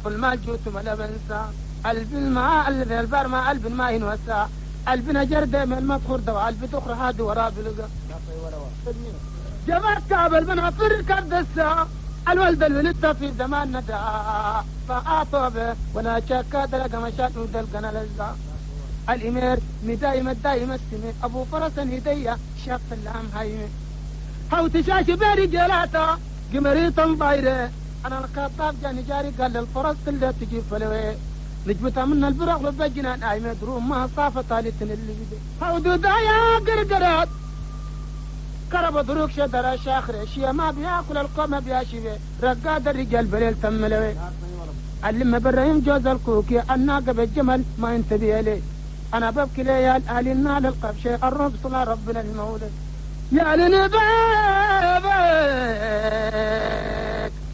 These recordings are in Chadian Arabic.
المال جوت ما بنسى قلب الماء قلب البر ما قلب ما ينوسى قلبنا جردة من المدخور ده وقلب تخرى هادي وراه بلقى جبرت كابل بن غفر كردسة الولد الولدت في زمان ندى فأعطوا وانا شاكا دلق مشات ودلقنا لزا الإمير مدايم الدايم السمي أبو فرس هدية شاف اللام هايمي هاو تشاشي بيري جلاتا قمريطا ضايرة أنا الخطاب جاني جاري قال للفرس اللي تجيب فلوي نجمتها من البرق لبجنان آيمة دروم ما صافة طالتن اللي بدي هاو دودايا قرقرات كرب دروك شدر شاخر شيا ما بياكل القوم بياشي رقاد الرجال بليل تملوي علم برايم جوز الكوكي الناقة بالجمل ما انتبه لي انا ببكي ليال اهل النال القبشي الرب صلى ربنا المولى يا لنبابك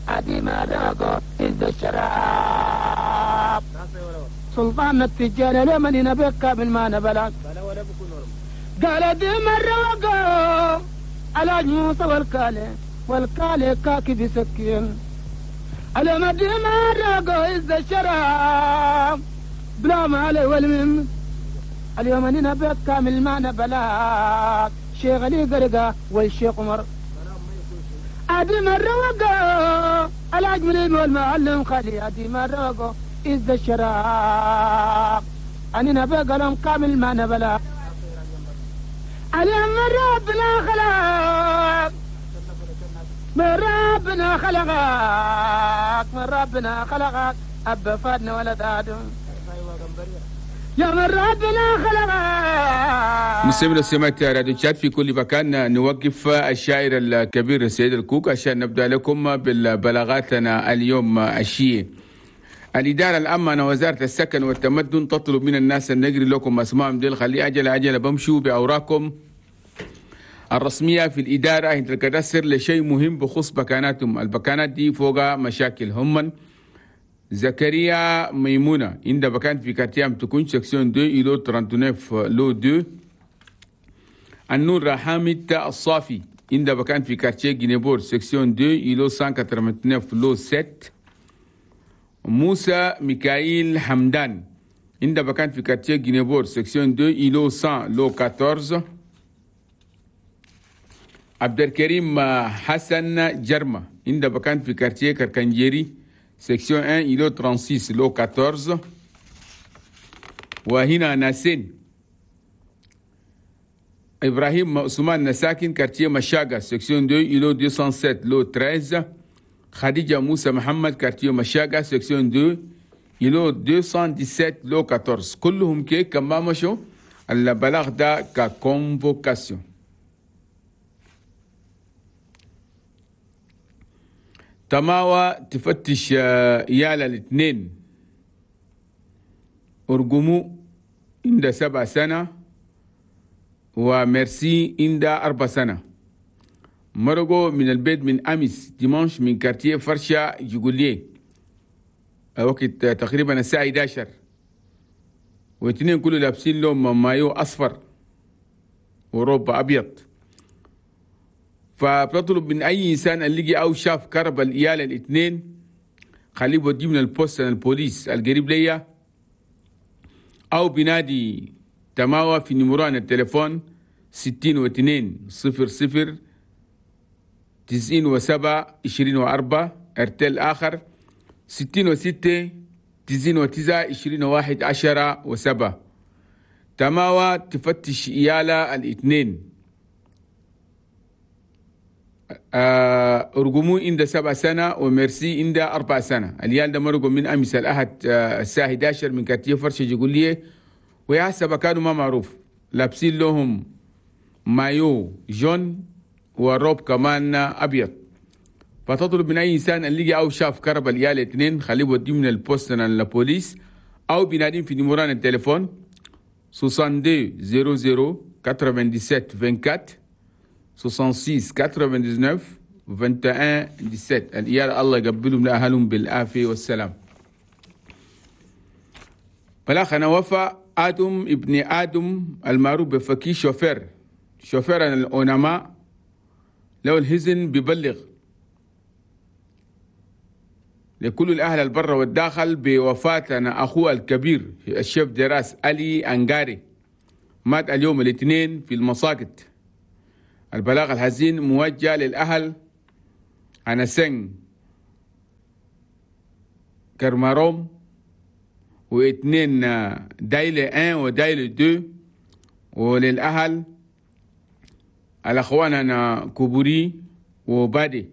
ادي ما راقو إذ الشراب سلطان التجار لمن ينبك من ما نبلك قال دي مرة وقو على موسى والكالي والكالي كاكي بسكين على ما دي مرة وقو إذ الشراب بلا ما علي والمم اليوم أنا بيت كامل ما نبلاك شيخ علي قرقة والشيخ عمر أدي مرة وقو الأجملين والمعلم خالي أدي مرة وقو إذ الشراب أنا نبي قلم كامل ما نبلاك اليوم من ربنا خلق من ربنا خلقك من ربنا خلقك أب فادنا ولد آدم يا من ربنا خلقك. مستمعي وسمعت راديو تشاد في كل مكان، نوقف الشاعر الكبير السيد الكوك عشان نبدأ لكم بالبلاغاتنا اليوم الشيء. الإدارة العامة وزارة السكن والتمدن تطلب من الناس أن نجري لكم أسمائهم ديل خلي أجل أجل بمشوا بأوراقكم الرسمية في الإدارة عند الكدسر لشيء مهم بخص بكاناتهم. البكانات دي فوق مشاكل هم زكريا ميمونة عند بكان في quartier تكون section 2 îlot 39 lot 2. النور حامد الصافي عند بكان في quartier Guinée-Port section 2 îlot 189 lot 7. موسى ميكائيل حمدان عند بكان في quartier Guinée-Port section 2 îlot 100 lot 14. عبد الكريم حسن جرمة عند بكان في quartier كركنجيري section 1 îlot 36 lot 14. وهنا ناسين إبراهيم عثمان نساكن quartier مشاقة section 2 îlot 207 lot 13. خديجة موسى محمد quartier مشاقة section 2 îlot 217 lot 14. كلهم كي كما مشوا البلاغ ده ك convocation. تماوى تفتش يالا الاثنين أرجمو عند 7 سنة وميرسي عند 4 سنة. مرقوا من البيت من أمس dimanche من quartier فرشة جيجوليه وقت تقريبا الساعة 11، واثنين كله لابسين لهم مايو أصفر وروبا أبيض. فبتطلب من أي إنسان اللي لقي أو شاف كرب الإيال الاثنين خليه بوديه من ال poste البوليس القريب ليا أو بنادي تماوى في numéro ان التليفون 62 00 97 24. ارتل آخر 66 99 21 10 و7. تماوى تفتش إيالة الاثنين أرجمو عند 7 سنة وميرسي عند 4 سنة. اليال ده مرقوا من أمس الأحد الساعة 11 من quartier فرشة جيجولية ويحسب كانوا ما معروف لابسين لهم maillot jaune و robe كمان أبيض. فتطلب من أي إنسان اللي لقي أو شاف كرب اليال اثنين خليه بوديه من ال poste للبوليس أو بينادين في numéro ان التليفون 62 00 97 24 66 99 21 17. الإيال الله يقبلهم لأهلهم بالعافية والسلام. بلاخنا وفا آدم ابن آدم المعروف بفكي شوفير الأونما لو الهزن ببلغ لكل الأهل البر والداخل بوفاة أخوه الكبير ال chef de race علي أنغاري، مات اليوم الاثنين في المساقط. البلاغ الحزين موجه للأهل أنا cinq كرماروم واثنين دايلة 1 ودايلة 2، وللأهل الأخوان أنا كوبوري وبادي.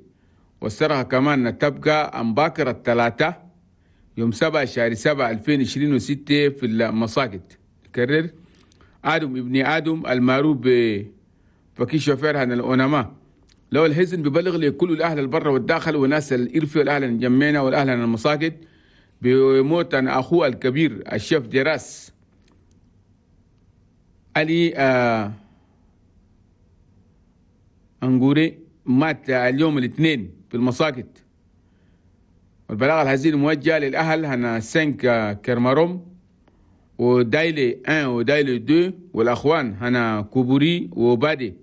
والسرقة كمان تبقى أمباكر الثلاثة يوم 7/7/2026 في المساجد. كرر آدم ابن آدم المعروف بفكي شوفير هن الأونما. لو الحزن ببلغ لكل الأهل البر والداخل وناس الإرفي والأهل الجمينة والأهل المساجد بموت أخوه الكبير ال chef de race علي أنغوري، مات اليوم الاثنين في المساجد. والبلاغ الحزين موجه للأهل هنا 5 كرماروم ودايلي 1 ودايلي 2 والأخوان هنا كوبوري وبادي.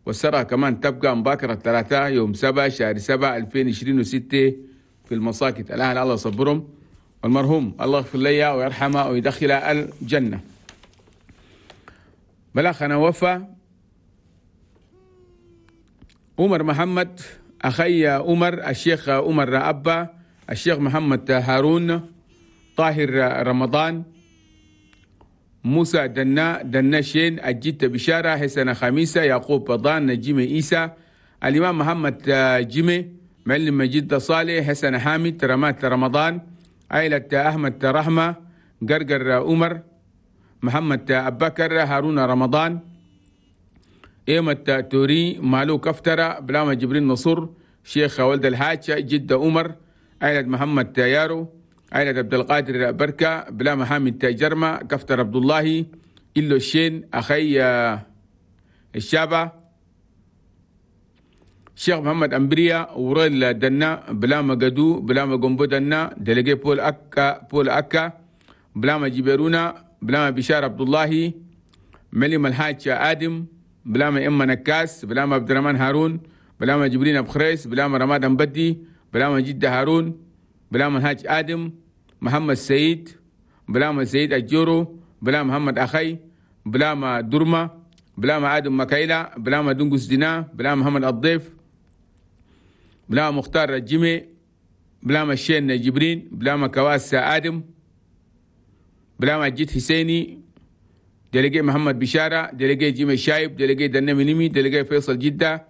والسرعة كمان تبقى مباكرة 3 يوم 7/7/2026 في المساجد. الأهل الله يصبرهم، والمرحوم الله يغفر لي ويرحمه ويدخله الجنة. بلاغ أنا وفا عمر محمد أخي عمر، الشيخ عمر أبا، الشيخ محمد هارون، طاهر رمضان، موسى دنا دنشين، الجيت بشارة، حسن خميسة، يعقوب بضان، نجيم إيسى، الإمام محمد جيمي، معلم مجيد صالح، حسن حامد، رمات رمضان، عائلة أحمد رحمة، قرقر عمر، محمد أبكر، هارون رمضان، إيمة توري، مالو كفترة، بلاما جبرين نصر، شيخ ولد الحاج، جدة عمر، عائلة محمد يارو، عائلة عبد القادر بركة، بلاما حامد جرمة، كفتر عبد الله، إلو الشين، أخي الشابة، شيخ محمد أمبريا، وريل دنا، بلاما قدو، بلاما قنبو دنا، دلقي بول أكا، بول أكا، بلاما جبرونا، بلاما بشار عبد الله، مليم الحاج آدم، بلاما إما نكاس، بلاما عبد الرحمن هارون، بلاما جبرين أبو خريس، بلاما رماد أمبدي، بلاما جدة هارون، بلاما الحاج آدم، محمد سيد، بلاما سيد الجورو، بلاما محمد أخي، بلاما درمة، بلاما آدم مكايلة، بلاما دنقس دينا، بلاما محمد الضيف، بلاما مختار الجمي، بلاما الشين جبرين، بلاما كواس آدم، بلاما جيت حسيني، دلقي محمد بشارة، دلقي جيمي الشايب، دلقي دنمي نمي، دلقي فيصل جدة،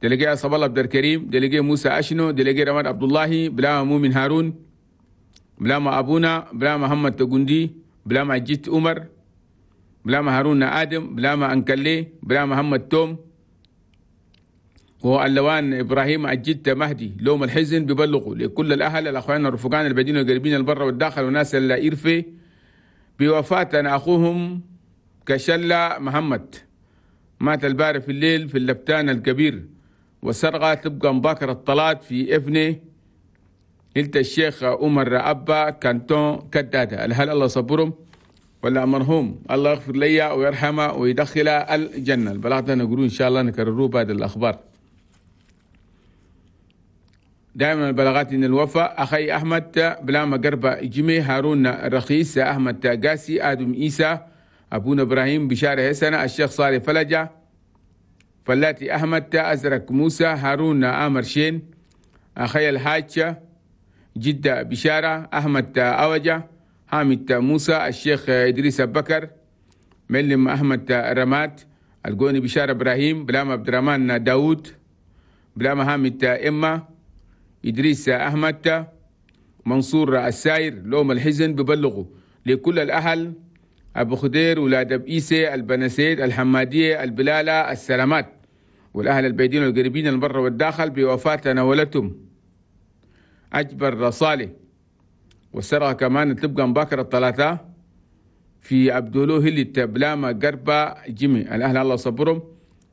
دلقي عصب الله عبد الكريم، دلقي موسى أشنو، دلقي رماد عبد الله، بلاما مؤمن هارون، بلاما أبونا، بلاما محمد تقندي، بلاما جيت عمر، بلاما هارون آدم، بلاما أنكلي، بلاما محمد توم، واللوان إبراهيم أجدت مهدي. لوم الحزن ببلغوا لكل الأهل الأخوان الرفقان البعيدين والقريبين البر والداخل وناس الإرفي بوفاة أخوهم كشلة محمد، مات البارح في الليل في اللبتان الكبير. والسرقة تبقى مباكرة الطلات في ابنه هلت الشيخ عمر أبا كانتون كدادة. هل الله صبرهم ولا مرحوم الله يغفر لي ويرحمه ويدخله الجنة. البلاغ ده نقولون إن شاء الله نكرروه بعد الأخبار. دائما البلاغات إن الوفاء أخي أحمد بلاما قربة جمي، هارون رخيص، أحمد قاسي، آدم إيسى، أبونا إبراهيم بشارة حسنة، الشيخ صالح فلجة، فلاتي أحمد، أزرق موسى، هارون آمر شين، أخي الحاج جدة بشارة، أحمد أوجة، حامد موسى، الشيخ إدريس بكر، معلم أحمد رماد، القوني بشارة إبراهيم، بلاما عبد الرحمن داود، بلاما حامد إما، إدريس أحمد، منصور الساير. لوم الحزن ببلغوا لكل الأهل أبو خدير، ولاد بإيسي، البنسيد، الحمادية، البلالة، السلامات، والأهل البيدين والقريبين البر والداخل بوفاة نولتهم أجبر صالح. والسرقة كمان تبقى مباكرة الثلاثة في عبدولو هلي بلاما قربة جيمي. الأهل الله صبرهم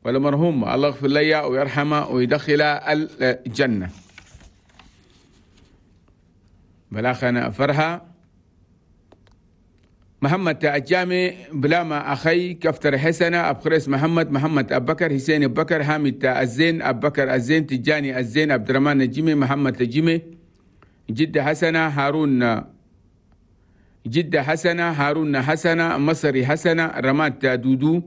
والمرحوم الله يغفر لي ويرحمه ويدخله الجنة. بلاخنا فرحة محمد الجامي، بلاما أخي كفتر حسنة، أبخريس محمد، محمد أبكر، حسين أبكر، حامد الزين، أبكر الزين، تجاني الزين، عبد الرحمن الجيمي، محمد الجيمي، جدة حسنة هارون جدة حسنة هارون حسنة مصري حسنة رمات دودو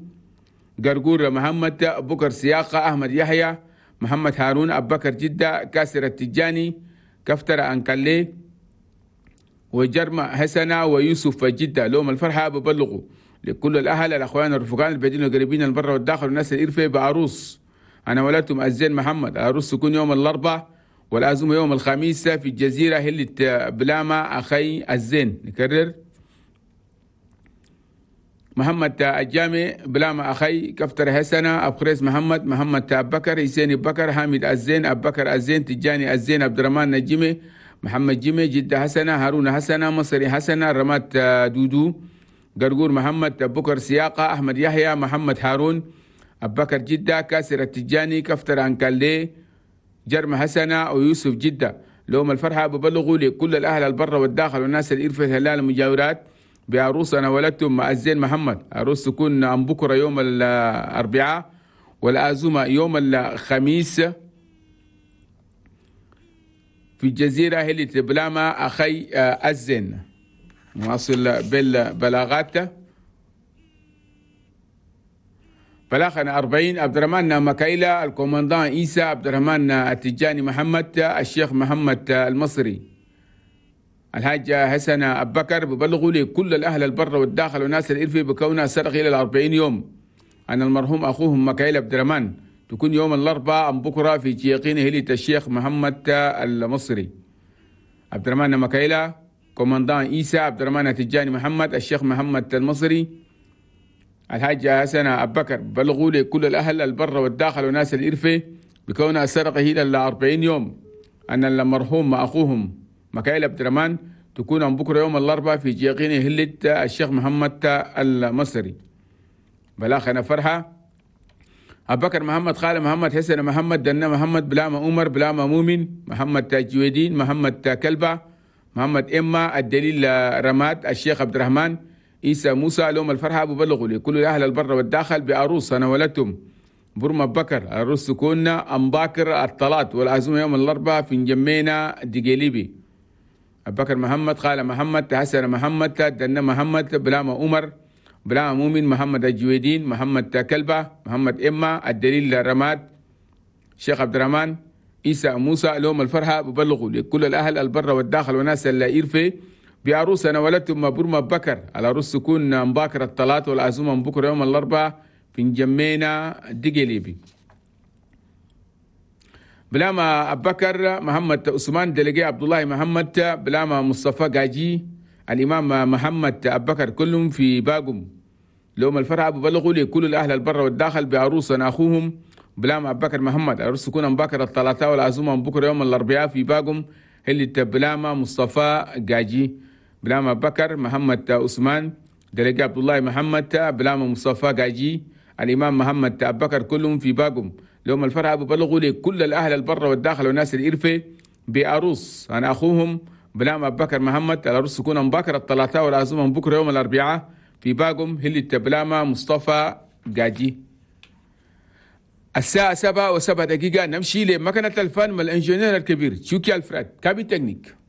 قرقور محمد بكر سياقة أحمد يحيى محمد هارون أبكر جدة كاسر التجاني كفتر أنكلي وجرمة حسنة ويوسف جدة. لهم الفرحة ببلغوا لكل الأهل الأخوان الرفقان البعيدين والقريبين البر والداخل والناس الإرفة بعروس أنا ولدتم الزين محمد. العروس تكون يوم الأربعاء والعزومة يوم الخميس في الجزيرة هلة بلامة أخي الزين. نكرر محمد الجامع بلامة أخي كفتر حسنة أبخريس محمد محمد أبكر حسين بكر حامد الزين أبكر الزين تجاني الزين عبد الرحمن نجمي محمد جمي جدة حسنة هارون حسنة مصري حسنة رمات دودو قرقور محمد بكر سياقة أحمد يحيى محمد هارون أبكر جدة كاسر التجاني كفتر أنكالي جرم حسنة ويوسف جدة. لهم الفرحة ببلغوا لكل الأهل البر والداخل والناس الإرفة الهلال المجاورات بعروس أنا ولدتم مع الزين محمد. عروس تكون أم بكرة يوم الأربعاء والعزومة يوم الخميس في الجزيرة هلة بلامة أخي الزين. نواصل بالبلاغات. بلاغنا 40 عبد الرحمن مكايلة الكومندان عيسى عبد الرحمن التجاني محمد الشيخ محمد المصري الحاج حسن أبكر ببلغوا لكل الأهل البر والداخل والناس الإرفي بكونها سرق إلى 40 يوم أن المرحوم أخوهم مكايلة عبد الرحمن تكون يوم الأربعاء أم بكرة في جيقين هلة الشيخ محمد المصري. عبد الرحمن مكايلة كومندان عيسى عبد الرحمن التجاني محمد الشيخ محمد المصري الحاج حسن أبكر بلغوا لكل الأهل البر والداخل والناس الإرفة بكونها سرقه إلى 40 يوم أن المرحوم أخوهم مكايل عبد الرحمن تكون عن بكرة يوم الأربعاء في جيقين هلة الشيخ محمد المصري. بلاغنا فرحة أبكر محمد خالد محمد حسن محمد دنا محمد بلامة عمر بلامة مؤمن محمد تاجودين محمد كلبة محمد إما الدليل رماد الشيخ عبد الرحمن عيسى موسى. لهم الفرحة ببلغوا لكل الأهل البر والداخل بعروس أنا ولدتم برما بكر. العروس تكون أم باكر الطلات والعزومة يوم الأربعاء في نجمينا دقيليبي. أبكر محمد خالد محمد حسن محمد دنا محمد بلامة عمر بلامة مؤمن محمد الجويدين محمد كلبة محمد إما الدليل رماد الشيخ عبد الرحمن عيسى موسى. لهم الفرحة ببلغوا لكل الأهل البر والداخل وناس الإرفة بعروس أنا ولدتم برما بكر. العروس تكون مباكر الطلات والعزومة بكرة يوم الأربعاء في نجمينا دقيليبي. بلاما أبكر محمد عثمان دلقي عبد الله محمد بلاما مصطفى قاجي الإمام محمد أبكر كلهم في باقم. لهم الفرحة ببلغوا لكل الأهل البر والداخل بعروس أخوهم بلاما أبكر محمد. العروس تكون مباكر الثلاثاء والعزومة بكرة يوم الأربعاء في باقم اللي بلاما مصطفى قاجي بلاما بكر محمد عثمان دلقي عبد الله محمد بلاما مصطفى قاجي الإمام محمد أبكر كلهم في باقم. لهم الفرحة ببلغوا لكل الأهل البر والداخل والناس الإرفة بعروس أنا أخوهم بلاما بكر محمد. العروس تكون مباكر الثلاثاء والعزومة بكرة يوم الأربعاء في باقم هلة بلاما مصطفى قاجي. الساعة 7:07 نمشي لمكنة الفن مع ال ingénieur الكبير شوكي الفراد cabine technique.